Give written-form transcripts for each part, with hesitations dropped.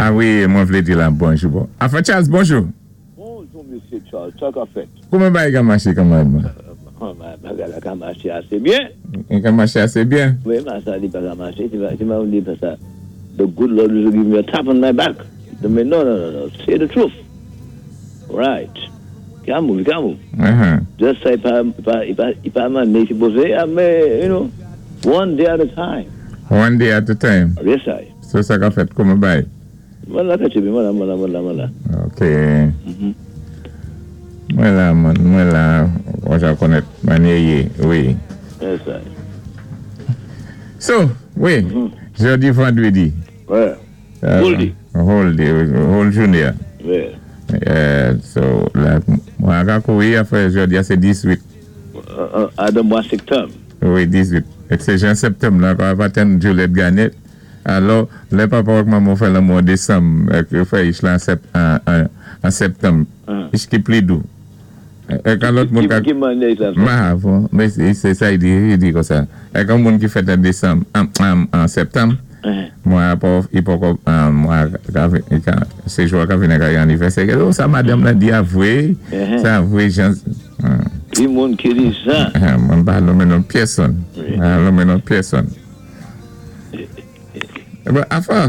A wi, mwen vlé di la bonjou bon. Afa Charles, bonjou. Bonjou, Misyé Charles, sa ka fèt? Kouman bagay ka maché, kanmarad mwen? Bagay la ka maché asé byen. I ka maché asé byen? Wi, men sa li pa ka maché, si ma di sa, the good Lord will give me a tap on my back. Men no, no, no, no, say the truth. Right. Ka move, ka move. Just say pa, pa, i pa manné sipozé, men, one day at a time. One day at a time. Yes, I. So sa ka fèt, kouman bay? Mwen la kètche, mwen la, mwen la, mwen la, mwen la. Ok. Mwen la, mwen la, mwen jan konèt manye yé, wi. Yes, I. So, wi, jodi vandwédi. Ouais. Whole day. Whole day, whole jouné. Ouais. So, la, mwen ka kouri apwé jodi a sé 18. Adan mwa sektanm. Wi, 18. Ek sé jan septanm la, kwa pa ten Juliette Gagné. Alò, lè papa ak manman fè lanmou an desanm, ek yo fè ich la an septanm, ich ki pli dou. Ek an lòt moun ka. Ki manyè sa fèt? Ma, bon, men sé sa i di, i di konsa. Ek an moun ki fèt an desanm, an septanm, mwen a pa, i poko, mwen ka, sé jou a ka vini ka yon anivèsè. Oh, sa madanm lan di a vwé, sa vwé jan. Ki moun ki di sa? Mwen pa nonmen non pyèsonn. Mwen pa nonmen non pyèsonn. Bon, afa,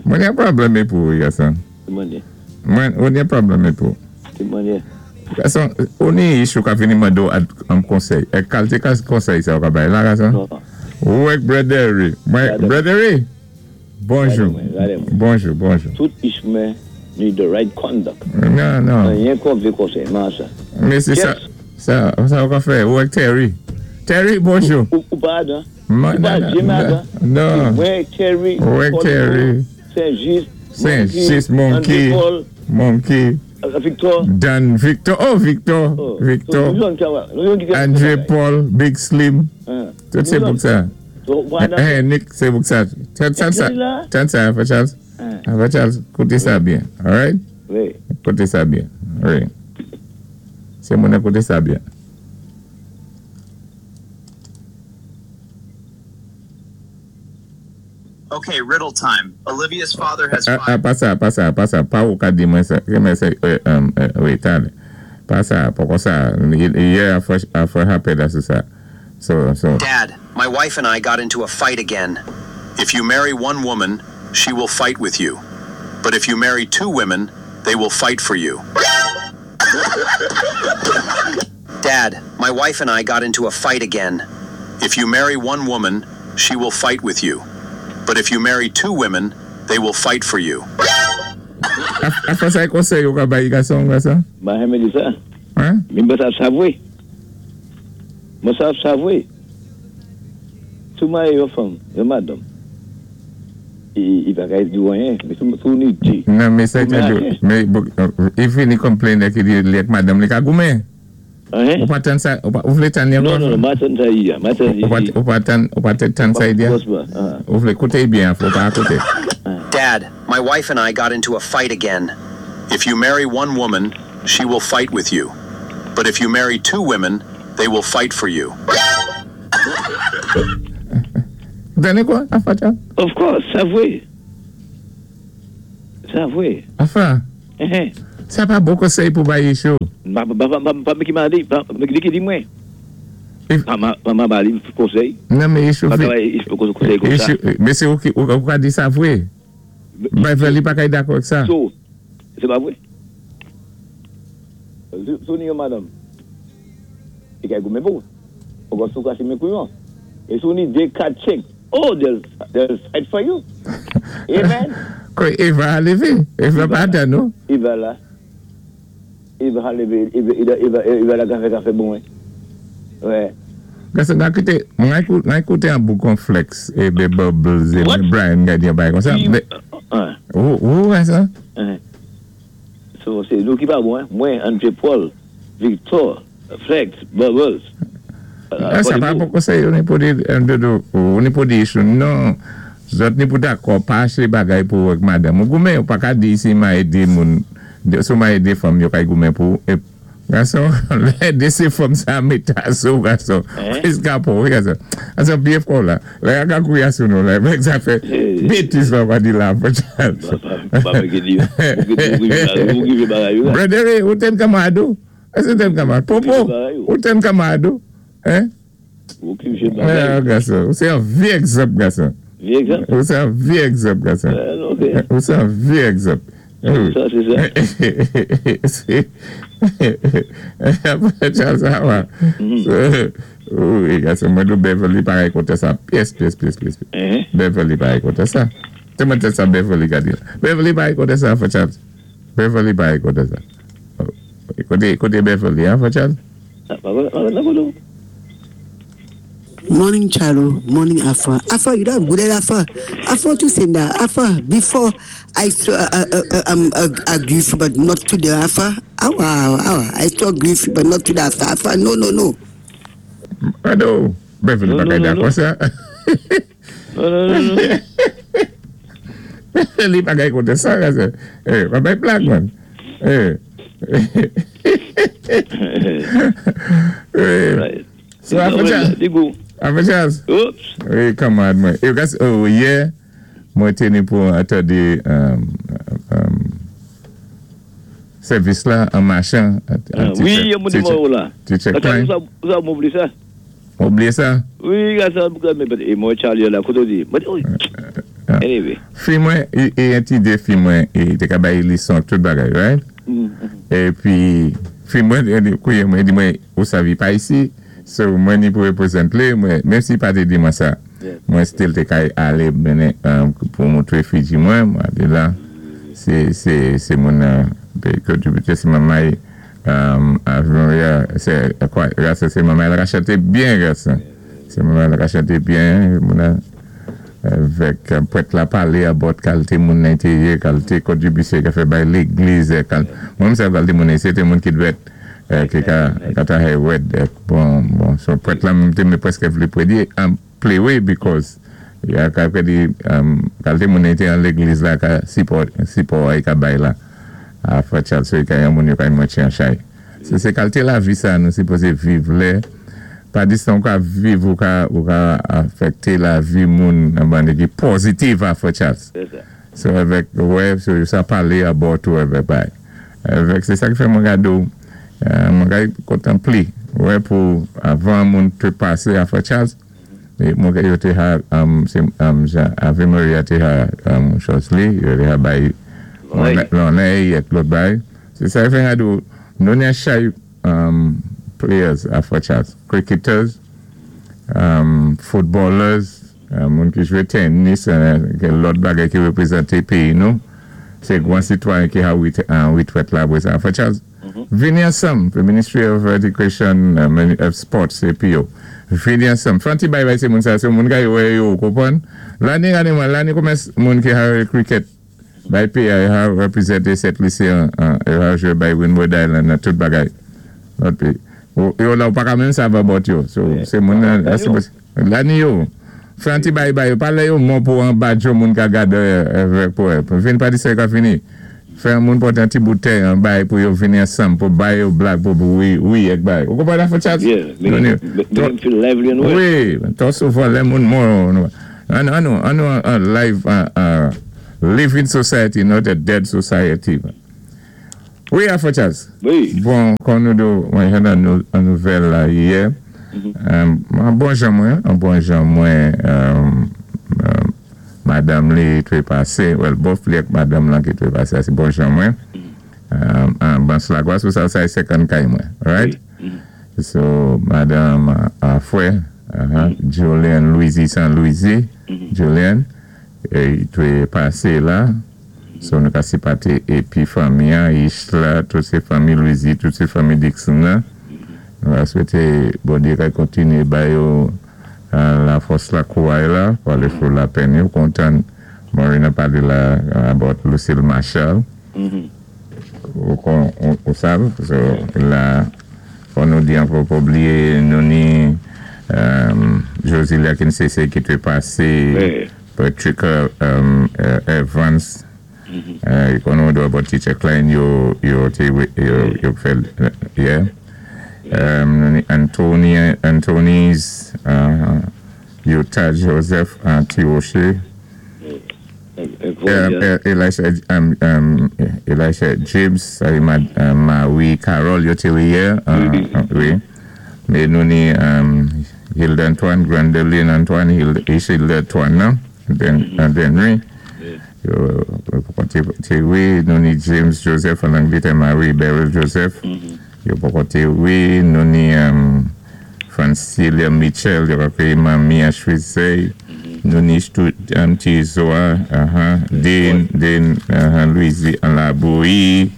mwen gen pwoblèm epou, gason. Mwen, ou gen pwoblèm epou. Ki manyè? Gason, ou ni issue ka vini mande ou an konsèy. Ek kalte konsèy sa ou ka bay la, gason? Ou ek Brother, mwen, Brother, bonjou. Bonjou, bonjou. Tout ish mwen need the right conduct. Non, non. Anyen kon vle konsèy, man sa. Men se sa, sa, sa ou ka fè, ou ek Terry. Terry, bonjou. Ou pa adan? Ou pa Jim adan? Non. Mwen, Terry, Ou ek Terry. Saint-Just, Saint-Just, Monkey, Monkey, Victor, Dan, Victor, oh Victor, Victor, Andre Paul, Big Slim, tout sé bouk sa. Eh, Nick, sé bouk sa. Tan sa, tan sa, Afa Charles. Afa Charles, kouté sa byen, alright? Wi. Kouté sa byen, wi. Sé moun koute sa byen. Okay, riddle time. Olivia's father has Ah, ah, pa sa, pa sa, pa sa, pa ou ka di mwen sa, men se, wi, talè. Pa sa, poko sa, yè a fwa hapè da sou sa. So. Dad, my wife and I got into a fight again. If you marry one woman, she will fight with you. But if you marry two women, they will fight for you. Dad, my wife and I got into a fight again. If you marry one woman, she will fight with you. But if you marry two women, they will fight for you. A fwa sa e konsèy ou ka bay gason, gason? Ma renmen di sa. Hein? Men mwen sa sa vwé. Mwen sa sa vwé. Sou maye yon fanm, yon madanm. I pa ka di wanyen, men sou ni di. Non, men sa te do, men, i fini complain ki di li ek madanm li ka goumen. Hein? Ou pa tan sa, ou vle tan yon Non, non, non, ma tan sa yi ya. Ma tan yi. Ou pa tan, ou pa tan sa yi diya? Ou vle koute yi bien, ou pa koute. Dad, my wife and I got into a fight again. If you marry one woman, she will fight with you. But if you marry two women, they will fight for you. Tande kwa, afa chan? Of course, sa vwé. Sa vwé. Afa, sa pa bon konsèy pou bay issue. Pa pa pa ki ma di, pa ki di mwen. Pa ma ba li konsèy. Non, men issue Pa ka konsèy kon sa. Men se ou ki, ou ka di sa vwé. Bay fè li pa kay dakò ak sa. So, se pa vwé. Sou ni yon madanm. I kay goumen pou. Ou kon sou kase men kouyon. E sou ni de kat chek. Oh, they'll fight for you. Amen. Kwe, Eva a leve. Eva pa atan, non? Eva la. Eva a leve. Eva la kafe kafe bon, ouais. Gason, nan koute, mwen koute an bou konfleks e be Bubbles e be Brian gadi yon bay kon sa. Ou, wè sa? So, se nou ki pa bon, mwen, Andre Paul, Victor, Flex, Bubbles. Sa pa pou konsèy, ou ni pou di, ou ni pou di issue, non. Zot ni pou dakò, pa ache bagay pou wèk madame. Ou goumen, ou pa ka di si ma ede moun, sou ma ede fam yo kay goumen pou, e, Gason, lè dé sé fanm sa méta sou gason, eskapon wi gason. Gason byé fò la. Lè a ka kouya sou nou la, mèk sa fè bétiz la pa di la Brother, ou ten kamado? Èské ten kamado? Popo, ou ten kamado? Hein? Gason, ou sé yon vyé egzanp gason. Ou sé yon vyé egzanp gason. Ou sé yon vyé egzanp. Sa sé sa. Charles sa va. Wi gason, mwen di Beverly pa kontè sa pyès, pyès, pyès, pyès. Beverly pa kontè sa. Té mwen tèt sa Beverly ka di la. Beverly pa kontè sa, Frè Charles. Beverly pa kontè sa. Koté, koté Beverly, hein, Frè Charles? Morning, Charo. Morning, Afa. Afa, you don't good at Afa. Afa to send that. Afa, before I saw agree, but not to the Afa. Awa, awa. I saw grief, but not to the Afa. Afa, no. Ado, Beverly pa kay dakò sa. No. Beverly pa kay kontè sa, gason. Eh, pa bay blag, man. Eh. Eh. So, Afa Charles. Afa Charles. Oops. Wi, kanmad mwen. E, gas, oh, yè, mwen té ni pou antandé sèvis la an machan. Wi, yon moun di mwen ou la. Teacher Klein. Ou sa mou sa? Oublié sa? Wi, gasa, e mwen Charlie la, koto di. Mwen, anyway. Fi mwen, e yon ti dé fi mwen, e te ka bay lison tout bagay, right? E pi, fi mwen, kouye mwen, di mwen, ou savi pa isi, so mwen ni pou represent li, mwen, menm si pa te di mwen sa, mwen still te kay ale menen pou moutre figi mwen, mwen di la, se moun kontribute se mamay Ave Maria, se, kwa, grasa se mamay la ka chante byen grasa. Se mamay la ka chante byen, moun an, avèk prèt la palé about kalité moun nan té yé, kalité kontribisyon ka fè bay légliz, mwen mwen sa kalité moun nan, se té moun ki dwèt, ki ka, ka ta hay wèd, bon, so prèt la mwen té mwen preske vle prédé, play way because ya ka prédé, kalité moun nan té an légliz la ka sipò, sipò ay ka bay la, a Frè Charles, so ka yon moun yo ka mwatye an chay. Se kalité lavi sa nou sipozé viv lè, pa distan ou ka viv ou ka afekte lavi moun an bande ki pozitiv a Frè Charles. So avèk, wè, so sa palé about ou avèk bay. Avèk, se sa ki fè mwen gado, mwen gade kontanpli, wè pou avan moun te pase a Frè Charles, mwen gade yo te ha, se, Ave Maria te ha, chòs li, yo te ha bay, lonnè, ek lòt bay. Se sa ki fè gado, nou ni a chay players a Frè Charles, cricketers, footballers, moun ki jwe tennis, lòt bagay ki reprezante peyi nou, se gwan sitwayen ki ha witwet la bwe sa. Frè Charles, vini ansam, the Ministry of Education of Sports, CPO, vini ansam. Fanti bay bay se moun sa, se moun kay wè yo, kompon? Lani gane man, lani koumes moun ki ha cricket bay peyi ha reprezante Sent Lisi an, ha jwe bay Windward Island nan tout bagay. Lòt peyi. Yo la ou pa ka menm sa va bot yo. So, se moun nan, lani yo. Fanti bay bay yo, pale yo moun pou an badjo moun ka gade pou vin pa di se ka fini. Fè moun pote an ti boutèy an bay pou yo vini ansam, pou bay yo blag pou wi, wi ek bay. Ou kompon la Frè Charles? Yeah, make them feel lively and well. Wi, to souvan lè moun moun. An nou, an nou an live, living society, not a dead society. Wi, Frè Charles. Wi. Bon, kon nou do, mwen jen an nouvèl la yè, an bon jan mwen, an bon jan mwen, madame li twe pase, well, bof li ek madame lan ki twe pase, se bon jan mwen, an ban slagwa, sou sa sa e second kay mwen, right? So, madame Afwe, Julian Louisi San Louisi, Julian, e twe pase la, so nou ka sipate epi fami an, Ishla, tout se fami Louisi, tout se fami Dixon nan, nou a swete, bon diye kay kontine bayo la fòs la kouay la, pou ale fou la pen yo, kontan Marina pale la about Lucille Marshall, ou kon, ou sav, so la, fò nou di an pou oubliye nou ni Josie Kinsese ki te pase, Patrick Evans. Konnen ou dwa bò Teacher Klein yo yo té yo yo fè yeah. Nou ni Anthony Anthony's Utah Joseph Tirocher Elisha Elisha James sa é Marie Carole yo té wé yè wi. Men nou ni Hilda Antoine, Grandeline Antoine, Hilda Antoine nan, Denry. Yo poko té wé. Nou ni James Joseph an Anglétè, Marie Beryl Joseph. Yo poko té wé. Nou ni Francilia Mitchell, yo ka manmi an Chwezey. Nou ni Tizoa, Dane, Dane Louise an Laboui.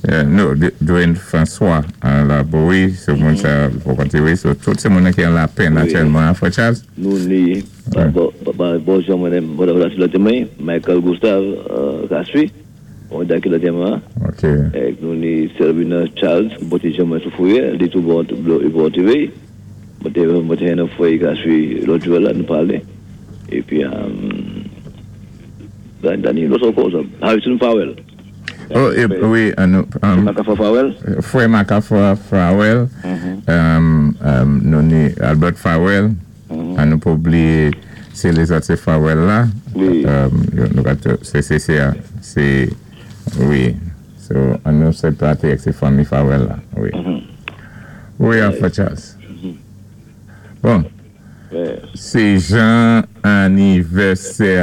No, Dwayne François an Laboui. So moun sa poko té wé. So tout sé moun ki an Lapèn aktyèlman, Frè Charles. Nou ni, bonjou mwen, Michael Gustave Kaspi, on da ki la tema. Ok. Nou ni Selvina Charles, ki bòté mwen sou fouye, li tou bon, bon TV. Mwen té nan fouye Kaspi lòt jou la, nou palé. Épi, Dani, lòt ankò, Harrison Farwell. Oh, wi, nou, Makafa Farwell? Frè Makafa Farwell, nou ni Albert Farwell, an nou pa blié sé lézòt sé Farwell la. Nou ka sé sé sé sé wi. So, an nou sé plate ak sé fanmi Farwell la, wi. Wi, Frè Charles. Bon, sé jan anivèsè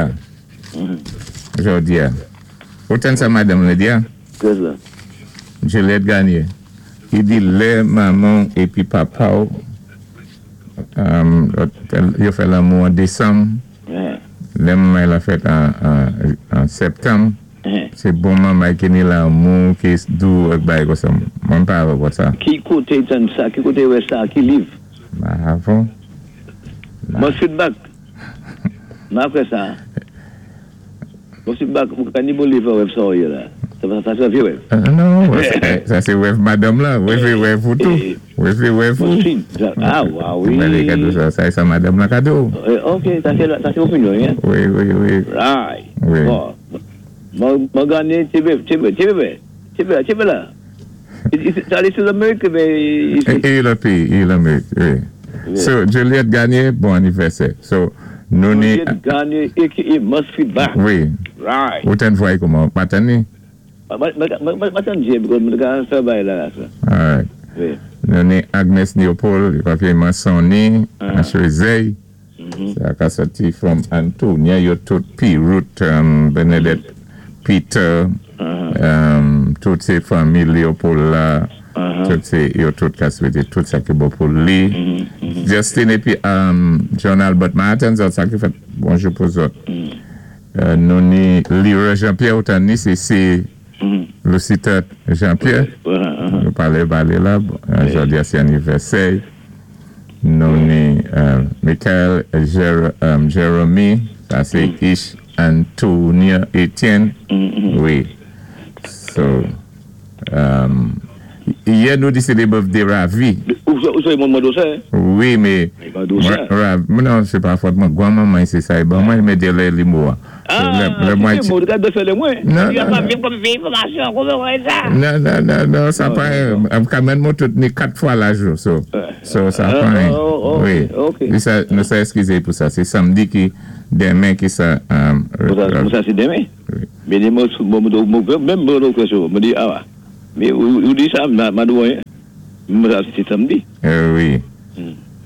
jòdi a. Ou tann sa madanm la di a? Kès la? Juliette Gagné. Li di lè manman w épi papa w yo fè lanmou an desanm, lè manman la fèt an septanm, sé bon manman ki ni lanmou, ki dou ak bagay konsa. Mwen pa avè w pou sa. Ki koté tann sa? Ki koté wè sa? Ki liv? M pa avè w. Mwen feedback. M apre sa. Bon feedback, mwen ka ni bon liv wèv sa ou yé la. Sa sé vyé wèv. Non, sa sé wèv madanm la. Wèv é wèv ou tou. Wèv é wèv ou. Ah, wa wi. Mwen lé kado sa, sa é sa madanm la kado. Ok, sa sé opinyon, hein? Wi. Right. Wi. Bon, mwen gagné ti bébé, ti bébé, ti bébé, ti bébé la. Sa li sou Lamérik mais ici? É lòt péyi, é Lamérik, wi. So, Juliette Gagné, bon anivèsè. So, nou ni. Juliette Gagné, aka Must Feedback. Wi. Right. Ou tann vwa kouman? Pa tann ni? Mwen tann Jay because mwen ka fè bagay la la sa. Alright. Wi. Nou ni Agnes Leopold, li pa pi Mansoni, Chwezey. Sa ka sòti from Antonia, yo tout pi Ruth, Bernadette Peter, tout sé fanmi Leopold la. Tout sé yo tout ka swété tout sa ki bon pou li. Justin épi John Albert Martin, zòt sa ki fèt bonjou pou zòt. Nou ni Leroy Jean Pierre ou tann ni sé sé Lucita Jean Pierre. Nou palé palé la, jòdi a sé anivèsè. Nou ni Michael Jeremy, sa sé Ish Antonia Etienne. Wi. So, yè nou di sé the birthday Ravi. Ou sé moun mwen sa? Wi, mais non, sé pa fòt mwen. Gwan manman sé sa ban mwen, mais de lè li mou. Ah, c'est mou, de fè lè mwen. Non, non, non. Non, non, non, non, sa pa, kamèn mwen tout ni kat fwa la jou, so sa pa. Wi. Ok. Nou sa eskizé pou sa. Sé samdi ki denmen ki sa. Sa sé denmen? Mais mwen, menm mwen kesyon, mwen di, ah, mais ou di sa, m di anyen. Mwen sa sé samdi. Wi.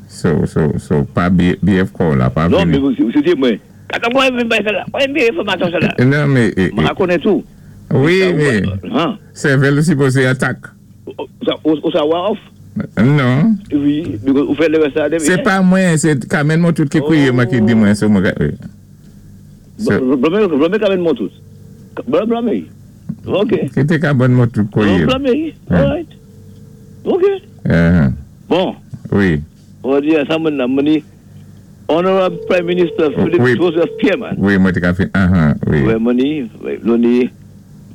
So, pa BF ko la, pa Non, mais c'est mwen. Kata mwen mwen bay sa la. Mwen mwen enfòmasyon sa la. Non, mais Mwen konnen tou. Wi, mais sèvèl ou sipozé atak. Ou sa wa off? Non. Wi, ou fè lè sa. Sé pa mwen, sé Kamen mwen tout ki kwiye mwen ki di mwen sou mwen. Blame blame Kamen mwen tout. Blame blame. Ok. Ki té Kamen mwen tout kwiye. Blame. Alright. Ok. Bon. Wi. On va dire sa mwen nan, mwen di Honorable Prime Minister Philip Joseph Pierre man. Wi, mwen té ka fin, wi. Wi, mwen di, nou di,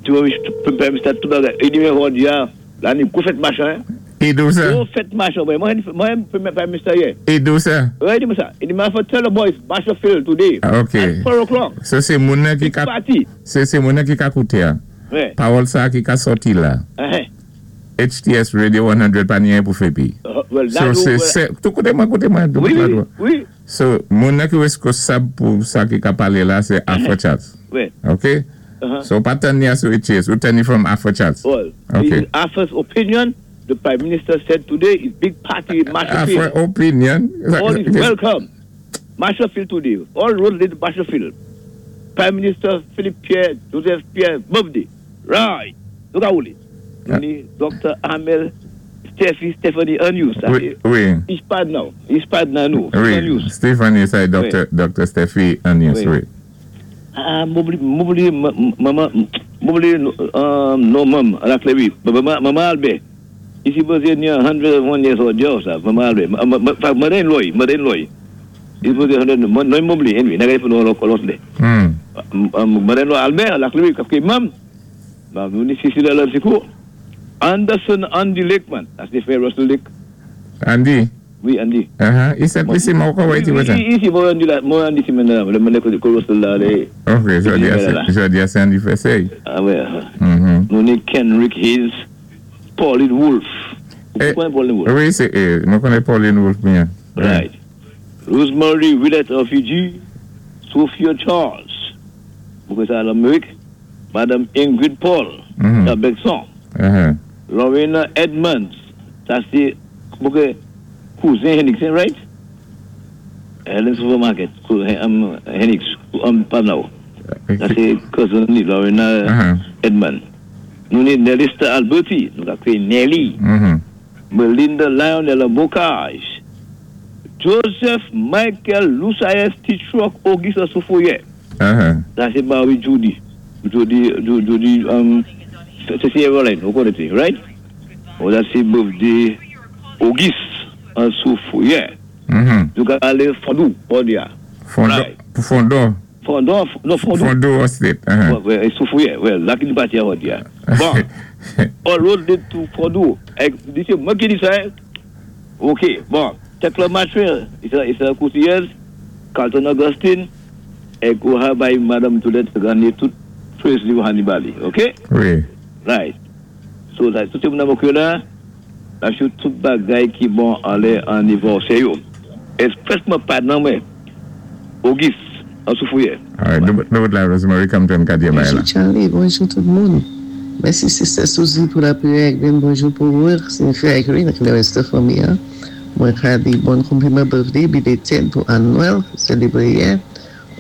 ti mwen Prime Minister tout bagay. E di mwen kon di a, la ni kou fèt machin. I di sa? Gwo fèt Marshall boy. Mwen mwen Prime Minister yè. I di sa? Wi, i di mwen sa. I di mwen for tell the boys Marshall Field today at 4 o'clock. So sé moun nan ki ka Se sé moun nan ki ka kouté a. Pawòl sa ki ka sòti la. HTS Radio 100 pa ni anyen pou fè pi. So se se tou koute mwen koute mwen. Wi wi wi. So moun nan ki reskosab pou sa ki ka palé la se Afro Charles. Ok? So ou pa tann ni a sou HTS, ou tann ni from Afro Charles. Well, ok. Afro's opinion, the Prime Minister said today is big party in Marshall Field. Afro opinion? All is welcome. Marshall Field today. All roads lead to Marshall Field. Prime Minister Philip Pierre, Joseph Pierre, birthday. Right. Nou ka woulé. Nou ni Doctor Amel Stephy Stephanie Anius. Sa sé Wi. He's pad now. He's pad nan nou. Wi. Stephanie sa é Doctor Doctor Stephy Anius. Wi. Ah m oubliye manman m oubliye non manm a la kle wi manman Albert li sipoze ni 101 years old yo sa manman Albert mother in law mother in law li sipoze 100 non m oubliye anyway na gade pou nou yon lòt lè mother in law Albert a la kle wi paske manm nou ni Cecilia Lanticourt Anderson Andy Lakeman sa se frè Russell Lake Andy Wi Andy. Aha, i sent Lisi mwen poko wè ti wè sa. Wi isi mwen wè Andy la, mwen wè Andy semèn nan lè mwen lè kote Russell la lè. Ok, jodi a se, jodi a se Andy Fessey. Ah wè. Nou ni Kenrick Hayes, Pauline Wolfe. Ou konnen Pauline Wolfe? Wi se, mwen konnen Pauline Wolfe byen. Right. Rosemary Willette of Fiji, Sophia Charles, mwen kwè sa Lamerik, Madam Ingrid Paul, sa Bèkson. Lorena Edmonds, sa se mwen kwè kouzen Henix right? Helen Supermarket, Henix, pa nan sa se cousin li Lorena Edmonds. Nou ni Nelista Alberti, nou ka kriye Nelly, Melinda Lionel Bocage, Joseph Michael Lusaes T-Truck Auguste Soufrière. Sa se mari Judy. Judy, Judy, se se Eveline, ou konnen ti, right? Oh, sa se birthday Auguste an Soufrière. Nou ka ale Fondou, Fondou a. Fondon, pou Fondon. Fondon, non Fondou. Fondou Estate. Wè, Soufrière, wè, la ki nou pati a jodi a. Bon, all road lead to Fondou. Di se mwen ki di sa, Ok, bon, Tekla Mathurin, se koutiyèz, Carlton Augustine, èk ou ha bay Madam Toulette ganye tout praise li ou ha ni ba li, ok? Wi. Right. So, sa tout moun nan mwen la, la sou tout bagay ki bon anlè anivòsè yo. Espresman pa nan mwen, Auguste, an Soufrière. Alright, nou bout la Rosemary Compton ka di bay la. Bonjou Charly, bonjou tout moun. Mèsi Sister Suzy pou lapriyè ak byen bonjou pou ou, Cynthia ak Rin ak lerès de fanmi an. Mwen ka di bon konpliman birthday belated pou Anne Noël ki selebre yè.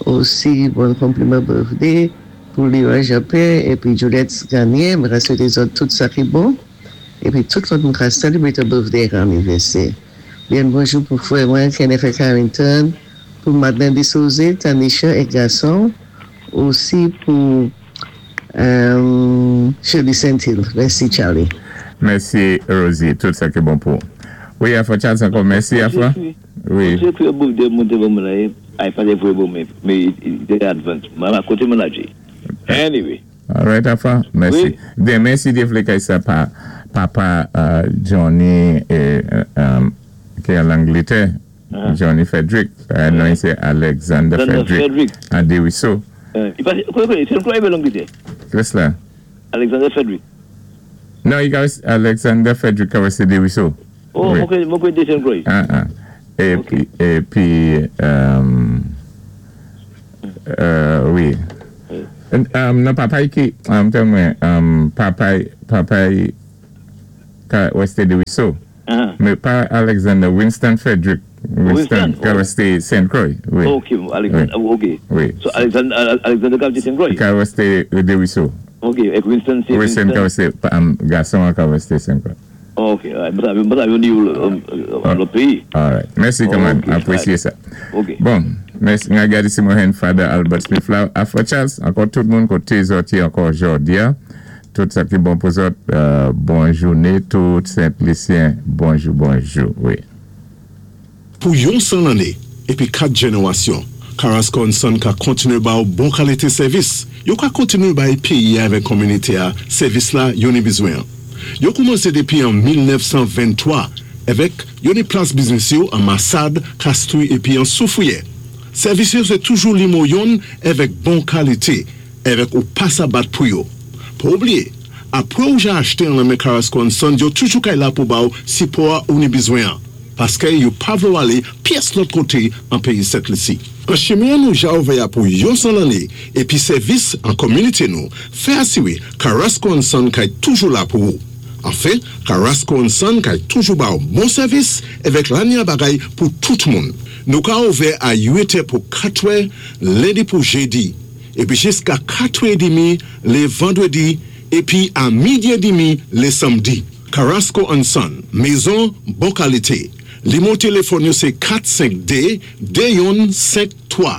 Osi bon konpliman birthday pou Leroy Jean Pierre epi Juliette Garnier. Mwen ka swete zòt tout sa ki bon epi tout lòt moun ka celebrate birthday ak anivèsè. Byen bonjou pou frè mwen Kenneth Carrington, pou Madeleine Desauze, Tanisha ek gason, osi pou Shirley Saintil. Mèsi Charly. Mèsi Rosie, tout sa ki bon pou ou. Wi Afra Charles ankò mèsi Afra. Wi. Mwen te birthday mwen te ban mwen la e ay pa te voye ban mwen men li te advance mwen pa kote mwen la anyway. Alright Afra, mèsi. Demen si Dye vle kay sa pa papa Johnny ki an Langletè Johnny Frederick, non li se Alexander Frederick an Desruisseaux. Li pa se, kote, se yon klò Langletè? Kès la? Alexander Frederick. Non, li ka Alexander Frederick ka wè se Desruisseaux. Oh, mwen kwè, mwen kwè de Saint Croix. Ah ah. Epi, epi, wi. Non, papa y ki, tann mwen, papa y, papa y ka wè se Desruisseaux. Men pa Alexander, Winston Frederick. Winston, ka wè se Saint Croix. Wi. Ok, Alexander, ok. Wi. So Alexander, Alexander ka vle Saint Croix? Ka wè se Desruisseaux. Ok, ek Winston se Winston. Winston ka wè se, gason an ka wè se Saint Croix. Ok, mwen ta mwen ta yon ni yon lòt peyi. Alright, mèsi kanmenm, apresye sa. Ok. Bon, mèsi, mwen gade si mwen jwenn Father Albert Smith la, Afra Charles, ankò tout moun kote zòt ye ankò jòdi a, tout sa ki bon pou zòt, bon joune tout Sent Lisyen, bonjou bonjou, wi. Pou yon 100 lanné épi 4 jènérasyon, Carrasco and Son ka kontinué ba-w bon kalité sèvis. Yo ka kontinué bay péyi-a avèk kominité-a sèvis la yo ni bizwen an. Yo koumansé dépi an 1923, èvèk yo ni plas biznis yo an Masad, Kastri épi an Soufriyè. Sèvis yo sé toujou limo yonn èvèk bon kalité, èvèk ou pa sa bat pou yo. Pa oubliyé, apwé ou ja achté an lan men Carrasco and Sons yo toujou kay la pou ba-w sipò-a ou ni bizwen-an, paskè yo pa vlé w alé pyès lòt koté an péyi Sent Lisi. An chimen an nou ja ouvè-a pou yon 100 lanné épi sèvis an kominité nou fè asiré Carrasco and Son kay toujou la pou ou. Anfen, Carrasco and Son kay toujou ba w bon sèvis èvèk lanya bagay pou tout moun. Nou ka ouvè a 8 è pou 4 è lendi pou jedi, epi jiska 4 è demi le vandredi epi a midi e demi le samdi. Carrasco and Son, mezon bon kalite. Limo telefòn yo se 4 5 2 2 yonn 5 3.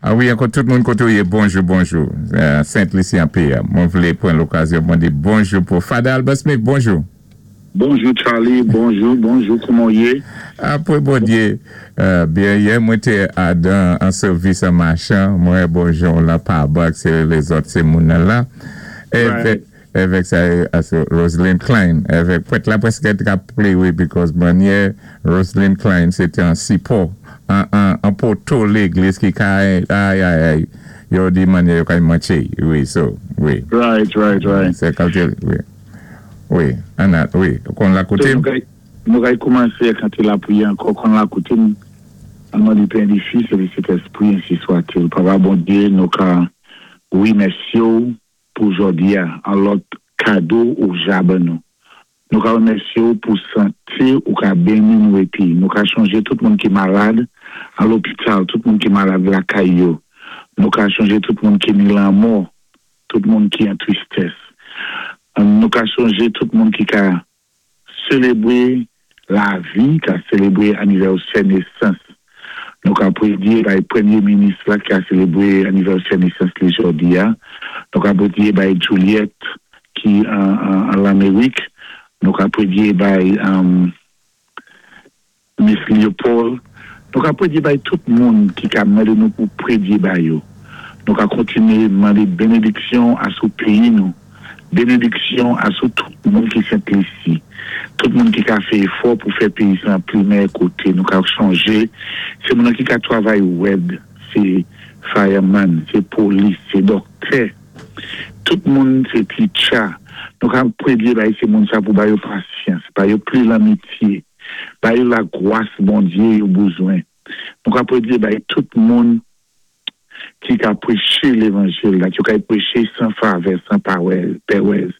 A wi ankò tout moun kote ou ye bonjou bonjou Sent Lisi an PM mwen vle pran lokazyon pou mwen di bonjou pou Father Albert Smith bonjou. Bonjou Charly bonjou bonjou kouman w ye. Apre Bondye byen yè mwen te adan an sèvis an machan mwen wè bon jan w lan pa bak se lezòt se moun nan la Evèk sa yo Roseline Klein evèk prèt la prèske te ka plere because manyè Roseline Klein se te an sipò an poto legliz ki ka ayayay yo di manyè yo kay manche wi so wi Right right right se kalte wi wi an al wi ou konn la koute m. Nou kay koumanse kante lapriyè ankò konn la koute m an non di Pè di Fis e di Sentespri ensi swatil Papa Bondye nou ka remèsye w pou jòdi a an lòt kado ou ja ban nou. Nou ka remèsye w pou sante ou ka beni nou epi nou ka chonje tout moun ki malad an lopital, tout moun ki malad lakay yo. Nou ka chonje tout moun ki ni lanmò, tout moun ki an tristès. Nou ka chonje tout moun ki ka Selebre lavi ka selebre anivèsè nesans. Nou ka predye bay premye minis la ki ka selebre anivèsè nesans li jodi a. Nou ka predye bay Juliette ki an Lamerik. Nou ka predye bay. Miss Leopold, Nou ka predye bay tout moun ki ka mande nou pou predye ba yo. Nou ka kontinye mande benediksyon asou peyi nou, benediksyon asou tout moun ki Sent Lisi, tout moun ki ka fè efò pou fè peyi sa pli mèyè kote. Nou ka chonje se moun nan ki ka travay rèd, se fireman, se polis, se dòktè, tout moun se teacher. Nou ka predye bay se moun sa pou ba yo pasyans, ba yo pli lanmitye. Ba yo lagwas Bondye yo bouzwen. Nou ka predye bay tout moun ki ka preche levanjil la, yo kay preche sanfavè, san pèwèz.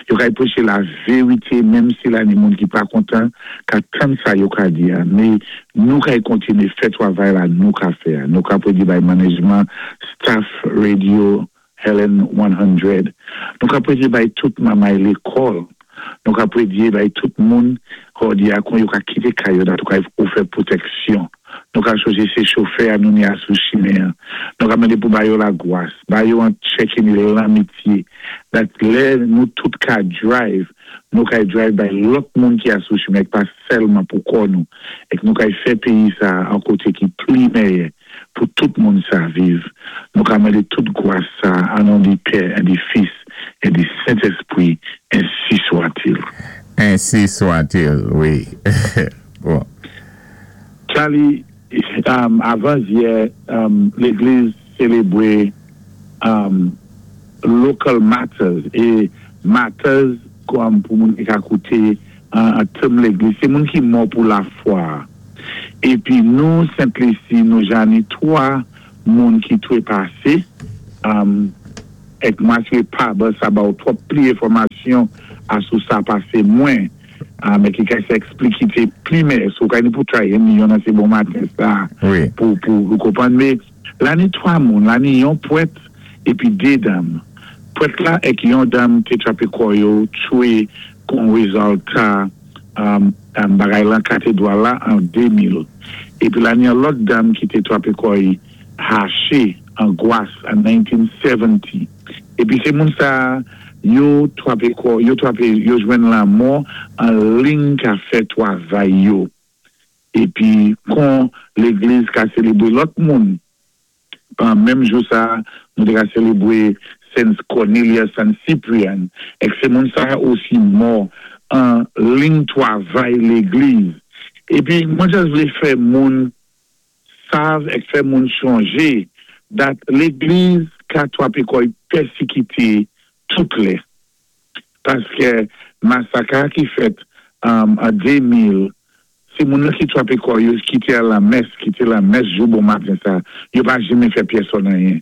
Yo kay preche laverite menm si la ni moun ki pa kontan ka tann sa yo ka di a. Me nou kay kontinye fè twavay la nou ka fè a. Nou ka predye bay manejman, staff radio Helen 100. Nou ka predye bay tout mamay lekòl. Nou ka predye bay tout moun kò dyakon yo ka kite kay yo dat yo ka ofè pwotèksyon. Nou ka chonje se chofè a nou ni a sou chimen an. Nou ka mande pou ba yo lagwas, ba yo an tchèke ni lanmitye. Dat lè nou tout ka drive, nou kay drive bay lòt moun ki a sou chimen ek pa sèlman pou kò nou. Ek nou kay fè peyi sa a an kote ki pli mèyè. pou tout moun sa viv. Nou ka mande tout gwas sa an non di Pè en di Fis en di Sentespri ensi swatil. Ensi swatil wi bon. Charly avan yè legliz selebre local matters e matters pou moun ki ka koute an tèm legliz se moun ki mò pou lafwa a. Epi nou Sent Lisi nou ja ni 3 moun ki trepase ek m asire pa ban sa ba w twòp pli enfòmasyon asou sa pase mwen men ki ka se eksplikite pli mè so w ka ni pou try ni yon nan se bon maten sa pou ou konprann me la ni 3 moun la ni yon pwèt epi 2 dam pwèt la ek yon dam te trape kò yo tchwe kon rezalta bagay lan katedwal la an 2000. Epi la ni yon lòt dam ki te trape kò i hache an Gwas an 1970. Epi se moun sa yo trape kò yo trape yo jwenn lanmò an ling ka fè twavay yo. Epi kon legliz ka selebre lòt moun. Menm jou sa a, nou te ka selebre Saints Cornelius and Cyprian èk sé moun sa osi mò an ling twavay légliz. Épi mwen just vlé fè moun sav èk fè moun chonjé that légliz ka twapé kò'y pèsikité tout lè. Paskè masak a ki fèt an 2000 se moun lan ki twape kò yo ki te al lan mès ki te lan mès jou bon maten sa yo pa janmen fè pyèsòn anyen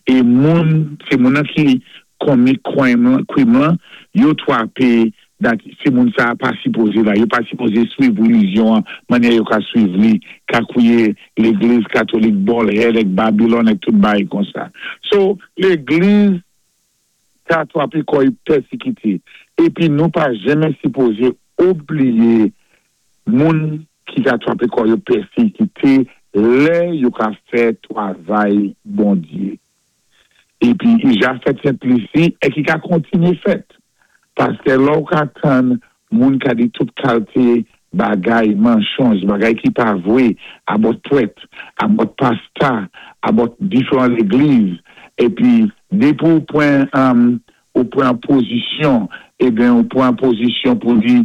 e moun se moun lan ki konmi kwim lan kwim lan yo twape dat se moun sa pa sipoze la yo pa sipoze swiv relijyon an manyè yo ka swiv li ka kouye legliz katolik bòlhèd èk babilòn èk tout bagay konsa so legliz Ka twape kò y pèsikite. Epi nou pa jenmen sipoze obliye moun ki ka twape kò yo pèsikite lè yo ka fè twavay Bondye. Epi i ja fèt Sent Lisi e ki ka kontinye fèt. Paskè lè w ka tann moun ka di tout kalte bagay, manchonj, bagay ki pa vwe abòt pwèt, abòt pasta, abòt diferan legliz, epi depi ou pran ou pran pozisyon, eben ou pran pozisyon pou di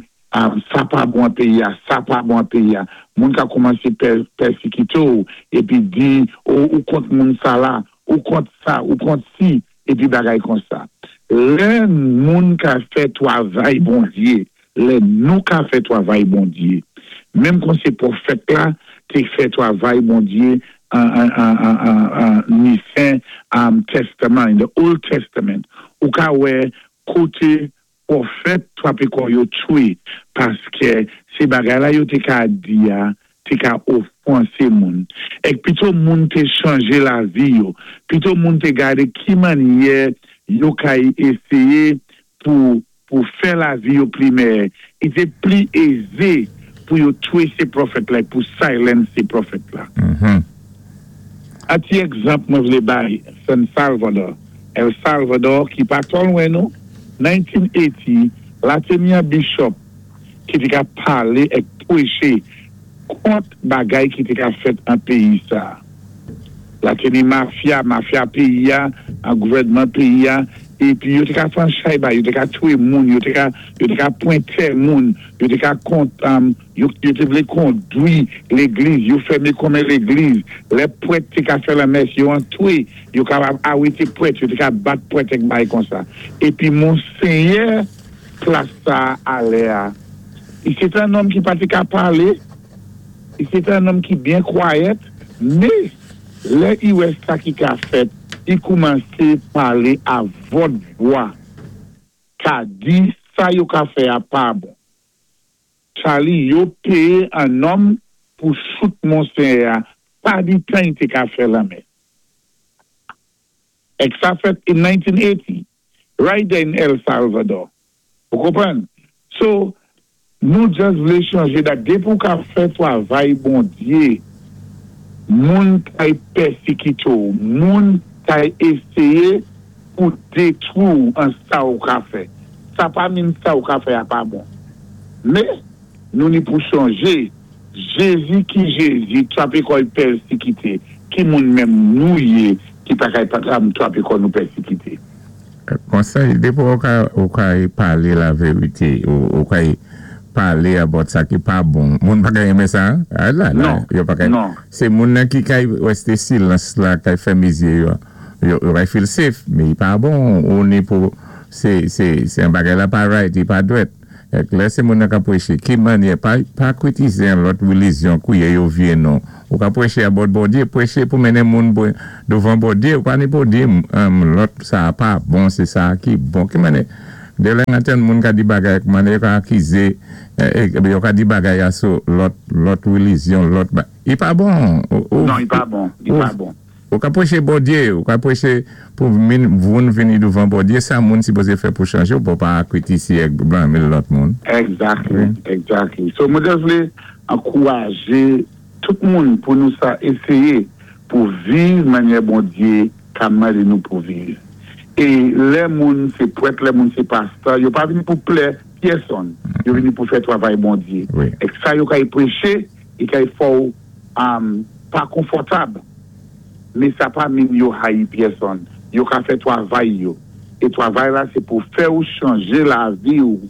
sa pa bon an peyi a, sa pa bon an peyi a, moun ka koumanse pèsikite w epi di o ou kont moun sa la, ou kont sa, ou kont si, epi bagay konsa. Lè moun ka fè twavay Bondye, lè nou ka fè twavay Bondye, menm kon se pwofèt la te fè twavay Bondye an Nisen Testament, in the Old Testament, ou ka wè kote Pwofèt twape kò yo tchwe paskè se bagay la yo te ka di a te ka ofwanse moun. Èk pito moun te chanje lavi yo, pito moun te gade ki mannyè yo kay eseye pou pou fè lavi yo pli mèyè. I te pli eze pou yo tchwe se pwofèt la pou silence pwofèt la. An ti egzanp mwen vle bay San Salvador, El Salvador ki pa twò lwen nou, 1980 la te ni an bishop ki te ka pale ek pweche kont bagay ki te ka fèt an peyi sa. La te ni mafya, mafya peyi a, an gouvènman peyi a, epi yo te ka fè an chay bay, yo te ka tchwe moun, yo te ka yo te ka pwen tè moun, yo te ka kont yo yo te vle kondwi legliz, yo fème konmen legliz, lè pwèt te ka fè lanmès yo antwe, yo kapab arete pwèt, yo te ka bat pwèt èk bagay konsa. Epi monsenyè plas sa a lè a, li se te an nonm ki pa te ka pale, li se te an nonm ki byen kwayèt, me lè i wè sa ki ka fèt, i koumanse pale a vòt vwa, ka di sa yo ka fè a pa bon. Charly yo peye an nonm pou chout monsenyè a pa di tan i te ka fè lanmè. Èk sa fèt in 1980 right there in El Salvador. Ou konprann? So nou just vle chanje dat depi ou ka fè twavay Bondye moun kay pèsikite w, moun kay eseye pou detwi w an sa ou ka fè. Sa pa min sa ou ka fè a pa bon. Men, nou ni pou chonje, Jezi ki Jezi twape kò y pèsikite, ki moun menm nou ye ki pa kay pa twape kò nou pèsikite? Konsèy, depi ou ka ou kay pale la verite, ou kay pale about sa ki pa bon, moun pa ka renmen sa? A la la, yo pa ka, se moun nan ki kay reste silans la, kay fèmen zye yo. Yo kay feel safe men li pa bon ou ni pou se se se yon bagay la pa right li pa dwèt ek lè se moun nan kap preche ki manyè pa pa kritize yon lòt relizyon kouye yo vye non ou ka preche about Bondye preche pou mennen moun pou douvan Bondye ou pa ni pou di lòt sa pa bon se sa ki bon ki manyè de lè antann moun ka di bagay ak manyè yo ka akize yo ka di bagay a sou lòt lòt relizyon lòt ba li pa bon ou Non li pa bon li pa bon. Ou ka preche Bondye, ou ka preche pou min voun vini douvan Bondye, sa moun sipoze fè pou chanje ou pou pa kritise ek blame lòt moun. Exactly, exactly. So mwen just vle ankouraje tout moun pou nou sa eseye pou viv manyè Bondye ka mande nou pou viv. E lè moun se prèt, lè moun se pastè, yo pa vini pou plè pyèsonn, yo vini pou fè travay Bondye. Ek sa yo kay preche, li kay fè w pa konfòtab, men sa pa min yo hayi pyèsonn. Yo ka fè twavay yo. É twavay la sé pou fè ou chanjé lavi ou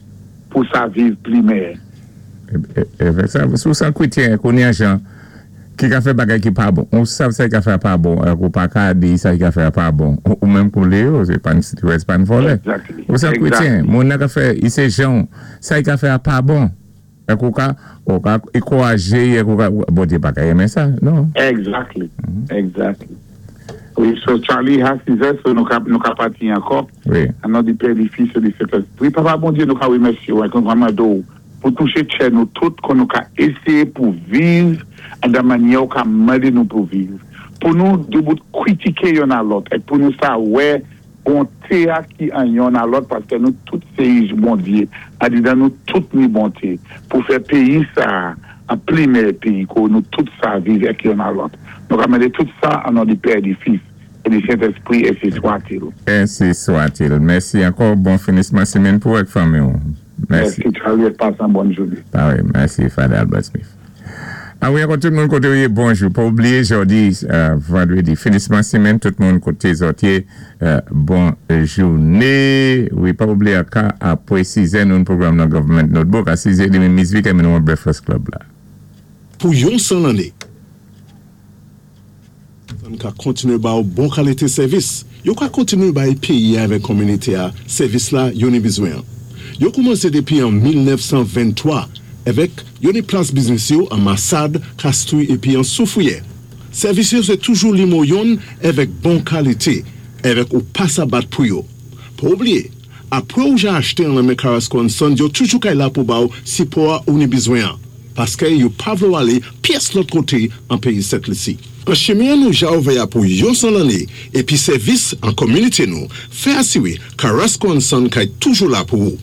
pou sa viv pli mèyè. É sa, si ou san kwétyen kounye an jan ki ka fè bagay ki pa bon, ou sav sa i ka fè a pa bon, ak ou pa ka di sa i ka fè a pa bon, ou menm koulé yo, sé pa n vòlè. Ou san kwétyen, moun nan ka fè, i sé jan ou, sa i ka fè a pa bon, ak ou ka ankourajé, ak ou ka, Bondyé pa ka renmen sa, non. Exactly. Wi, so Charlie a 6 so nou ka pati ankò. Wi. An non di Pè, di Fis, di Sentespri. Papa Bondyé, nou ka wimèsyé ou, nou ka mandé ou pou touché tchè nou tout, kon nou ka ésyé pou viv an mannyè ou ka mandé nou pou viv. Pou nou débout kwitiké yonn a lòt, é pou nou sa wè bonté a ki an yonn a lòt, paské nou tout sé Bondyé, andidan nou tout ni bonté, pou fè péyi sa an pli mèyè péyi, kon nou tout sa viv ak yonn a lòt. Nou ka mandé tout sa an non di Pè, di Fis, é di Sentespri, ensi swa-t-il. Ensi swa-t-il. Mèsi ankò, bon finisman simenn pou ak fanmi. Mèsi. Mèsi Charlie, pasé yon bòn jounen. Ah wi, mèsi Father Albert Smith. Ah wi, ankò tout moun koté wi, bonjou. Pa oubliyé jòdi, vandrédi, finisman simenn, tout moun koté zòt yé, bon jouné. Wi, pa oubliyé ka apwé 6 nou pwogram nan Government Notebook a 6 édmi Miss Vic nou Breakfast Club la. Pou yon san lanné. An ka kontiné ba ou bon kalité sèvis. Yo ka kontiné bay péyi avèk kominité a sèvis la yo ni bizwen. Yo koumansé dépi an 1923 avèk yo ni plas biznis yo an Masad, Kastri épi an Soufwiyè. Sèvis yo sé toujou limo yonn avèk bon kalité, avèk ou pa sa bat pou yo. Pa oubliyé, apwé ou ja achté an lanmen Carrasco and Sons, yo toujou kay la pou ba ou sipò a ou ni bizwen an. Paské yo pa vlé alé pyès lòt koté an péyi Sent Lisi. An chimen nou ja ouvè a pou yon san lanné épi sèvis an kominité nou fè asiwé Carrasco and Son kay toujou la pou ou.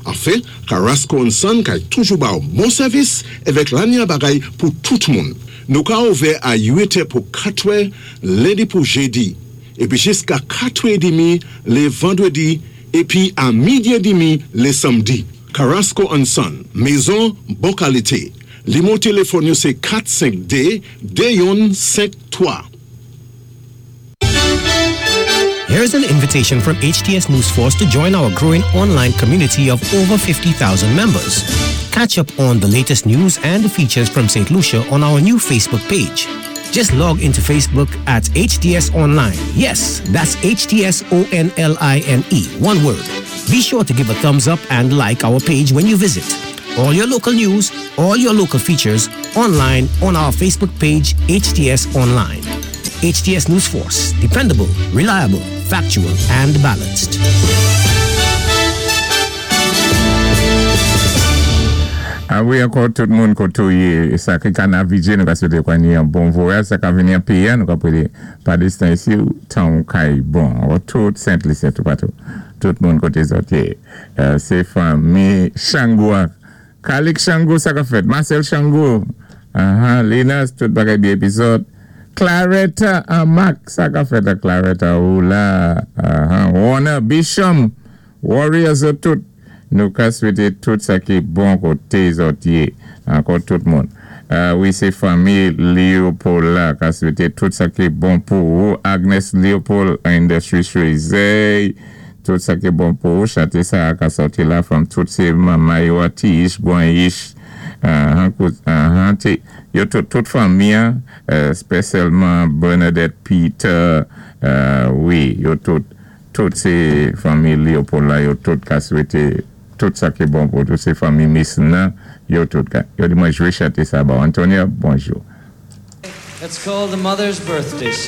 Anfen, Carrasco and Son kay toujou ba ou bon sèvis avèk lanya bagay pou tout moun. Nou ka ouvè a 8 pou 4 lendi pou jédi, épi jiska 4 édmi lé vandrédi, épi a midi édmi lé sanmdi. Carrasco and Son, mézon bon kalité. Limo téléfòn yo sé 452 2153. Here's an invitation from HTS News Force to join our growing online community of over 50,000 members. Catch up on the latest news and features from St. Lucia on our new Facebook page. Just log into Facebook at HTS Online. Yes, that's HTS O N L I N E, one word. Be sure to give a thumbs up and like our page when you visit. All your local news, all your local features online on our Facebook page, HTS Online. HTS News Force, dependable, reliable, factual, and balanced. Ah wi, ankò tout moun koté ou yé, sa ki ka navigé, nou ka swété kwa ni yon bon vwayaj, sa ka vini an péyi, nou ka pwédé pa distan isi, tan ou kay bon. Ankò tout Sent-Lisi, tout patou. Tout moun koté zòt yé. Sé fanmi Chango, Kalik Chango, sa ka fèt. Marcel Chango, uh Linas, tout bagay byen épizòd. Claretta an Mac, sa ka fèt a Claretta ou la. Warner, Bisham, Warriors tout. Nou ka swété tout sa ki bon koté zòt yé. Ankò tout moun. Wi, sé fanmi Léopold la ka swété tout sa ki bon pou ou. Agnes Léopold, Industry Choisey. Tout sa ki bon pou ou. Chanté sa ka sòti la from tout sé manman yo a Tiish, Guanyish, yo tout, tout fanmi an, spésyalman Bernadette Peter, wi, yo tout, tout sé fanmi Léopold la, yo tout ka swété tout sa ki bon pou tout sé fanmi Miss Nan, yo tout ka. Yo di mwen jwé chanté sa ba. Antonia, bonjou. It's called the Mother's Birthday.